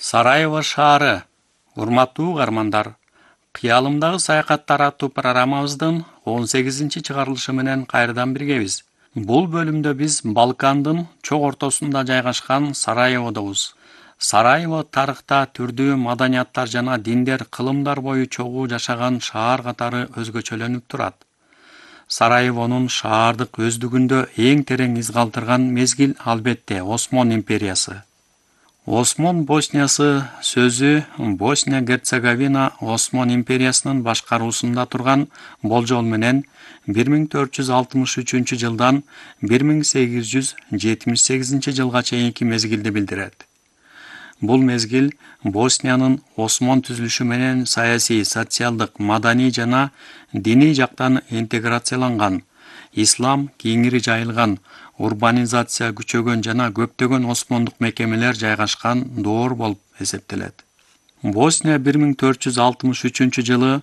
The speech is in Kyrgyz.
Сараево шаары. Урматтуу угармандар, кыялымдагы саякаттар аттуу программабыздын 18-чыгарылышы менен кайрадан биргебиз. Бул бөлүмдө биз Балкандын чок ортосунда жайгашкан Сараеводобуз. Сараево тарыхта түрдүү маданияттар жана диндер кылымдар бою чогуу жашаган шаар катары өзгөчөлөнүп турат. Сараевонун шаардык өздүгүндө эң терең из калтырган мезгил албетте Осмон империясы. Осмон Босниясы сөзү Босния-Герцеговина Осмон империясынын башкаруусунда турган болжол менен 1463 жылдан 1878 жылга чейинки мезгилди билдирет. Бул мезгил Босниянын Осмон түзүлүшү менен саясий, социалдык, маданий жана диний жактан интеграцияланган, ислам кеңири жайылган, урбанизация күчөгөн жана көптөгөн осмондук мекемелер жайгашкан доор болуп эсептелет. Босния 1463 жылы